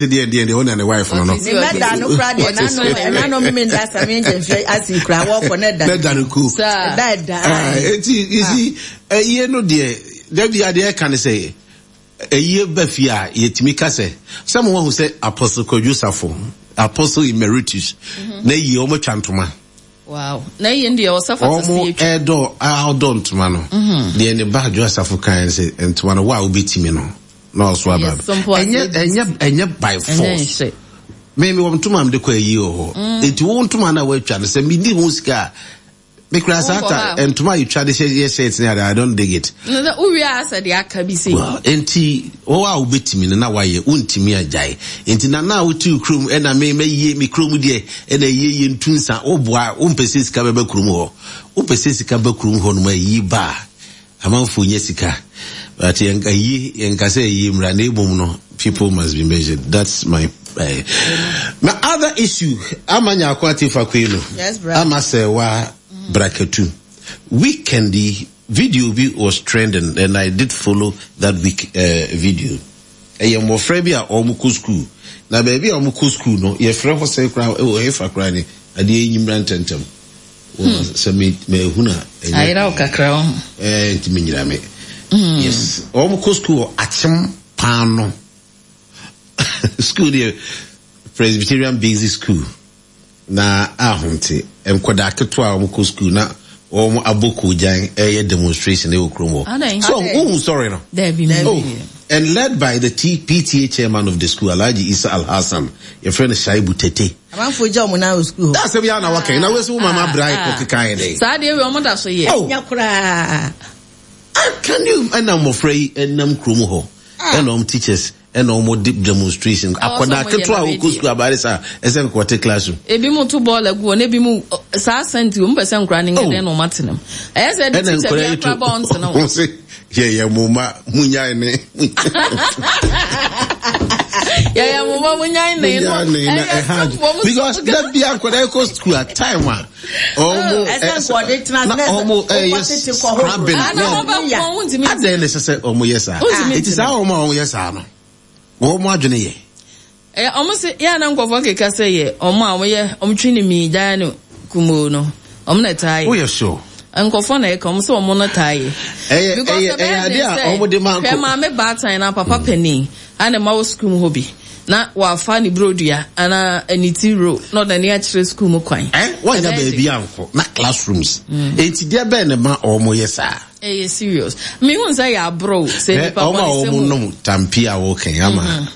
Deɛ deɛ deɛ ɔna ne wife no no. Ne mma da no kora deɛ n'ano ɛnano mmemme da sami nkyɛnfɛ asi kora wɔkɔ ne da. Ne da no ku. Ɛda ɛda. Eti you see ɛyie no deɛ dabi adeɛ ɛka ne sɛ ɛyie ba fie a yɛtumi ka sɛ sɛ mo wahu sɛ Apostle Kwadwo Safo Apostle Emeritus na yie wɔn atwa ntoma. Wow. Na yie deɛ ɔsɛ fata sɛ yɛtwa. Wɔn ɛdɔ ɔdɔ ntoma no. Deɛ ne ba Adwo Asafo kan sɛ ntoma no wo a wobɛtumi no. Na ɔso aba. Ɛnyɛ ɛnyɛ ɛnyɛ by force. Me me wɔ ntoma mede kɔ ayi wɔ hɔ. Mm. Enti wo ntoma na woatwa no sɛ menni ho sika a me kura saa ta ntoma a yɛtwa de hyɛ yɛ shirt ne ade I don't dig it. Na sɛ wowie a sɛ de aka bi sei. Well, enti wo a wobɛtumi no na wayɛ wontumi agyae. Enti na na wote kurom ɛna me mɛyie me kurom deɛ ɛna ɛyie yɛ ntu nsa woboa wompɛ sɛ sika bɛba kurom hɔ. Wopɛ sɛ sika ba kurom hɔ nom ayi ba a Amanfoɔ nya sika but yɛn ayie yɛn nka sɛ ayie mmra na ebom no people must be measured that's my uh, my other issue ama nyako ate fa kwenu yes, bra. Ama sɛ wa brakatu weekend yi video bi was trending and I did follow that week uh, video ɛyɛ mmɔfra bi a wɔn kɔ school na baabi a wɔn kɔ school no yɛfrɛ hɔ sɛ koraa ɛwɔ hefa koraa ne adeɛ yi nyimra ntɛntɛm. Hmm. Sɛ me mahunu a ɛnyɛ. Ayera wo kakra wo ho. Ɛɛ nti me nyina me. Hmm. Yes. Wɔn kɔ school wɔ Akyem Paano. School deɛ Presbyterian Basic School na ahomte nkwadaa ketewa a wɔn kɔ school na wɔn abɔ koogyan ɛyɛ demonstration ɛwɔ kurom hɔ. So wohu story no? Dabi mi. Oh, and led by the T PTA chairman of the school Alhaji Isa Al Hassan, yɛfrɛ no Shaibu Tete. Amanfoɔ gya wɔn nan wɔ sukuu hɔ. Asɛm yi ara na waka yi, na wei wo mama bra kɔ keka yɛ dɛn? Saa deɛ wei wɔn da so yɛ. Oh. Nya koraa. Can you ɛna mmɔfra yi ɛnam kurom hɔ ɛna wɔn teachers ɛna wɔn de demonstration akwadaa ketewa a wɔkɔ sukuu abaare saa ɛsɛ nkɔte classroom. Ebi mu to bɔɔl agu hɔ na ebi mu saa sɛnti wɔn pɛ sɛ nkora ne nyɛ dɛn na wɔn atena mu. Ɛyɛ sɛ ɛde teacher bi akora ba wɔn tena hɔ. Yɛyɛ mo mma munyae ne. Yɛyɛ mo mma munyae ne. Munyae ne na ɛha because da bi akwadaa ɛkɔ school at time a ɔmo na ɔmo ɛyɛ scrubbing na adɛn na ɛsɛ sɛ ɔmo yɛ saa eti saa ɔmo a ɔmo yɛ saa no wɔn adwene yɛ. Ɛyɛ ɔmo se yɛ a na nkorɔfoɔ keka sɛ yɛ ɔmo a ɔmo yɛ ɔmo twe ne mii gyaa no kumoo no ɔmo na ɛtaa yɛ. Woyɛ sure? Nkorɔfoɔ na ɛka ɔmo sɛ ɔmo no taa yɛ. Ɛyɛ Because ɛyɛ ɛbɛyɛ ɛyɛ den adeɛ a sɛ ɔmo de ma hwɛ nko. maame baatan na papa panin a ne mma wɔ sukuu mu hɔ bi na wafa ne burodua anaa ne ti roll na ɔde n'ani akyerɛ sukuu mu kwan. Ɛ wɔnnya Ɛbɛyɛ den. baabi ankɔ na classrooms enti deɛ bɛn na ɛma ɔmo yɛ saa? Ɛyɛ serious. Me hu sɛ yɛ aborɔ o, sɛ nipa Ɔmo a bɔne sɛm ɔmo o. nom tampi a wɔka yi ama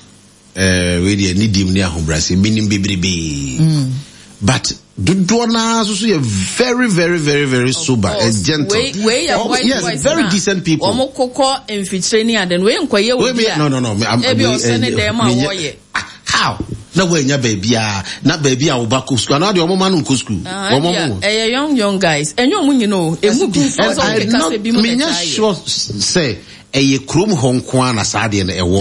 ɛɛ wei deɛ ne dim ne ahobrɛase menim bebrebee. But dodoɔ naa nso so yɛ very very very very sober and gentle. Wei wei yɛ boys yes, boys very na decent people. Wɔn kokɔ mfikyire ne ade no wei nkɔyɛ obi a. No no no. Ebi ɔsɛ ne dɛm a wɔyɛ. Ah, how? Na woannya baabi a, na baabi a wo ba kɔ sukuu, anaa deɛ wɔn ma no nkɔ sukuu. Ah, wɔn ɛyɛ young young guys, ɛnyɛ wɔn nyina o, emu bi. And I not, menyɛ sure sɛ ɛyɛ kurom hɔ nko ara na saa adeɛ no ɛwɔ.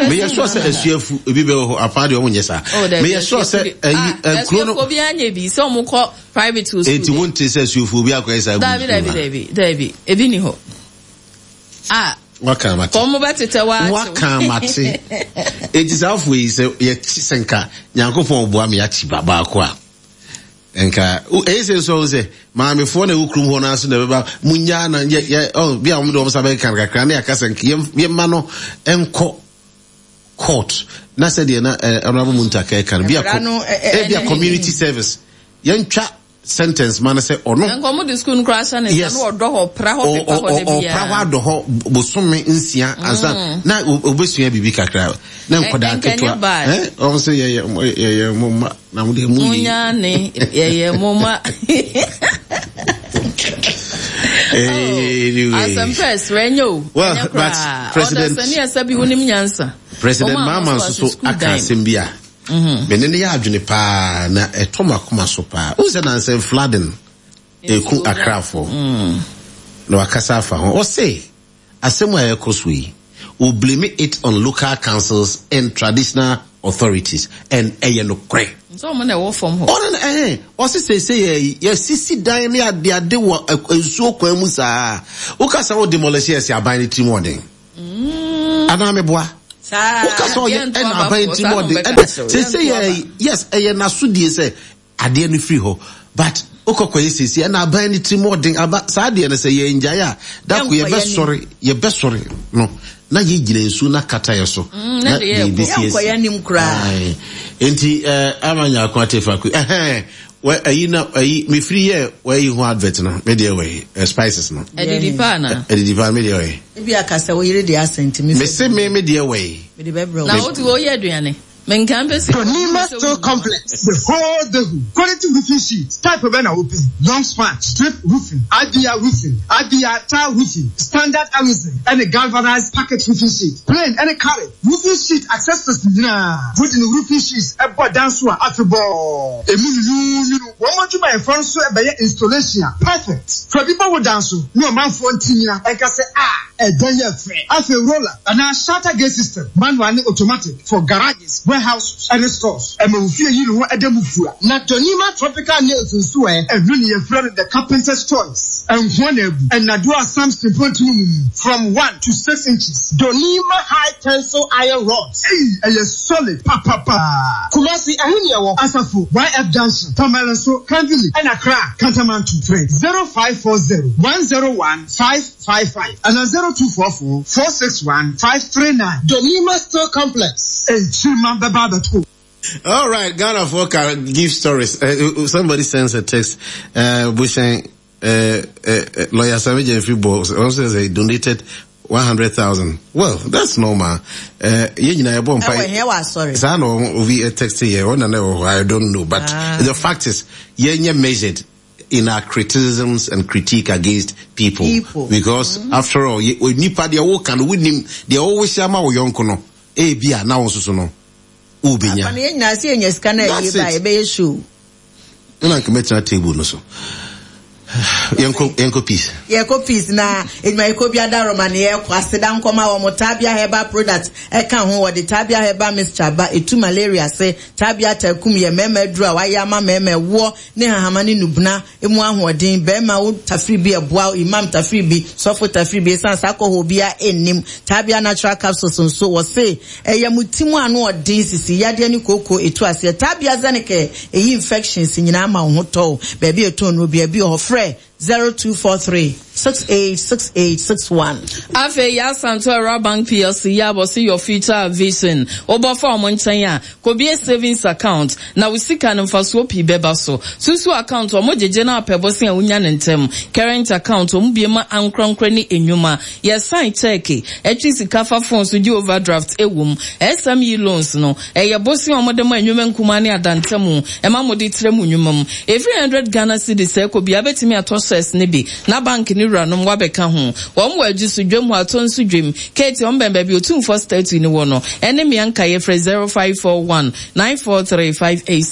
Meyɛ sure sɛ asuafu ebi bɛ wɔ hɔ, apaa deɛ wɔn nyɛ saa. Oh, Meyɛ sure sɛ ɛyi ah, kuro no. Asuafu bi anyɛ bi sɛ wɔn kɔ private school. Eti wɔn ti sɛ asuafu bi akɔyɛ saa. Dabi dabi dabi dabi ebi ni hɔ. Ah. Waka mate. Wɔn bɛ tetɛ wa akyew. Waka mate. Eti saa afo yi sɛ yɛkyi sɛ nka Nyankopɔn boa me akyi ba baako a. Nka ɛyɛ sɛ nso sɛ maamefoɔ na ɛwɔ kurom hɔ no ase na ɛbɛba munyaa na yɛ yɛ ɔ bi a wɔn de wɔn nsa bɛka kakra ne aka sɛ yɛmma no nkɔ court na sɛdeɛ na honorable Muntaka ɛka no bi a community service yɛntwa sentence ma no sɛ ɔno. Nka ɔmo de sukuu no koraa hyɛ ne nsa na ɔdɔ hɔ pra hɔ pepa hɔ da biara. Ɔpra hɔ adɔ hɔ bosome nsia ansa mm. na obesua biribi kakra na nkɔdaa ketewa. Ɛ ɔmo sɛ yɛyɛ yɛyɛ mo mma na mo deɛ mo yi. Munya ne yɛyɛ mo mma. Anyway. Asɛmpa ɛsrɛ nyɛ o. Well, but president. Ɔdasani ɛsɛ bi wonim nyansa. President Mahama nso so aka asɛm bi a. Me ne no yɛ adwene paa na ɛtɔ m'akoma so paa. Wohu sɛ nansa flooding ɛku Akrafoɔ mm. na wakasa afa ho. Ɔse asɛm a ɛkɔ so yi, we blame it on local councils and traditional authorities and ɛyɛ nokorɛ. Nso ɔmo na ɛwɔ fam hɔ. Ɔno na ɛhɛn ɔse sɛsɛ yɛ yɛsisi dan ne adeade wɔ nsuo kwan mu saa. Wokasa wo demolish yɛ sɛ aban ne tirim ɔden. Mm. Anaa meboa. Woka sɛ ɔyɛ ɛna aban ti mu ɔde ɛna sese yɛ yes ɛyɛ n'asodie sɛ adeɛ no firi hɔ but wokɔ kɔyɛ sese ɛna aban no ti mu ɔden aba saa adeɛ no sɛ yɛn ngyae a dako yɛbɛsɔre yɛbɛsɔre no na yɛgyina nsuo no akata yɛ so mm, na biribi si esi nti eh, ama nyako ate fa ko ɛhɛn wɛ ayi na ayi mefiri yɛ wɔayi ho advert no me deɛ wɔyi eh, spices no ɛdidi paa na ɛdidi paa me deɛ wɔyi ebi akasa wo yere deɛ asɛn ti mese me me deɛ wɔyi mede bɛbrɛ na wotu wɔyɛ aduane menka mpɛ sɛ Tonima Steel Complex, the whole the quality roofing sheet type bɛ na wopɛ long span strip roofing IBR roofing IBR tile roofing standard aluzinc ɛne galvanized packet roofing sheet plain ɛne carried roofing sheet accessories nyinaa wode ne roofing sheets ɛbɔ dan so a afebɔɔ emu nwunwunwunu wɔn adwumayɛfoɔ nso ɛbɛyɛ installation a perfect fa bi bɔ wo dan so ne ɔmanfoɔ nti nyina ɛnka sɛ a ɛdan yɛ fɛ afei roller anaa shutter gate system manual ne automatic for garages, warehouses, ɛne stores. Ɛma wo fie yi ne ho ɛda mu fua. Na Donima tropical nails nso ɛ? Ɛno ne yɛfrɛ no the carpenter's choice. Nkoa na abu. Nnadewa a Samson mpontini mu mu from 1 to 6 inches. Donima high tensile iron rods. Ei, ɛyɛ solid papapaa. Kumasi, ɛhe ne ɛwɔ? Asafo, YF Junction, Tamale nso, Kan Village, ɛna Accra, Kantamanto. Frɛ 0540 101 555 anaa 0244 461 539. Donima Steel Complex. Nkyirimma bɛba abɛto. All right, Ghana for can give stories. Somebody sends a text. Bushen, lawyer Sammy Jeffrey Bo also says he donated 100,000. Well, that's normal. Yɛn nyinaa yɛbɔ mpa. Ɛwɔ hɛn wɔ asɔre. Saa na obi text yɛ, ɔna na ɛwɔ hɔ, I don't know. But ah. the fact is, yɛnyɛ measured in our criticisms and critique against people. people. Because mm -hmm. after all, nipa deɛ woka no wonim deɛ wɔwɔhyɛ ama wo yɔnko no, ebi a na wo nso so no, wobɛnya. Afa no yɛn nyinaa sɛ yɛnya sika na ɛyɛ ba yɛbɛyɛ show. Ɛna nka mɛtena table no so. Yɛnkɔ yɛnkɔ peace. Yɛkɔ peace na edwumayɛkuo bi adaworoma ne yɛkɔ aseda nkɔma wɔn Tabia herbal product ɛka ho wɔde Tabia herbal mixture ba etu malaria ase Tabia takum yɛ mmarima aduro a wɔayɛ ama mmarima ɛwoɔ ne hahama ne nubena emu ahoɔden barima wo tafiri bi ɛboa imam tafiri bi sɔfo tafiri bi esan saa kɔhɔ obiara nnim Tabia natural capsules nso wɔse Ɛyɛ mo ti mu ano ɔden sisi yadeɛ ne kooko ɛtu aseɛ tabia Xenicare ɛyi infections nyinaa ma wo ho tɔ wo baabi a ɛtɔn nnuro biara bi wɔ hɔ frɛ 0243 686861. Afei Yasanto Awura Bank PLC yɛ abɔ se your future vision. Wobɔ fa wɔn nkyɛn a, kɔbue savings account na wo sika no mfasoɔ pii bɛba so. Susu account wɔn gyegye na apɛ bosea a wonya no ntɛm. Current account wɔn bue ma ankorankora ne nnwuma. Yɛ sign cheque, ɛtwe sika fa phone so gye overdraft ɛwom. SME loans no, ɛyɛ bosea a wɔde ma nnwuma nkumaa ne adantamu, ɛma mode trɛ mo nnwuma mu. Ɛfiri hundred Ghana cedis ɛkɔ biara bɛtumi atɔ shares no bi na bank no wuranom woabɛka ho. Wɔn wɔ Adwo so, Dwam hɔ, Atɔ nso Dwam, Kate wɔn bɛn baabi Otumfoɔ statue no wɔ no, ɛne mmea nkaeɛ frɛ 0541 943 586.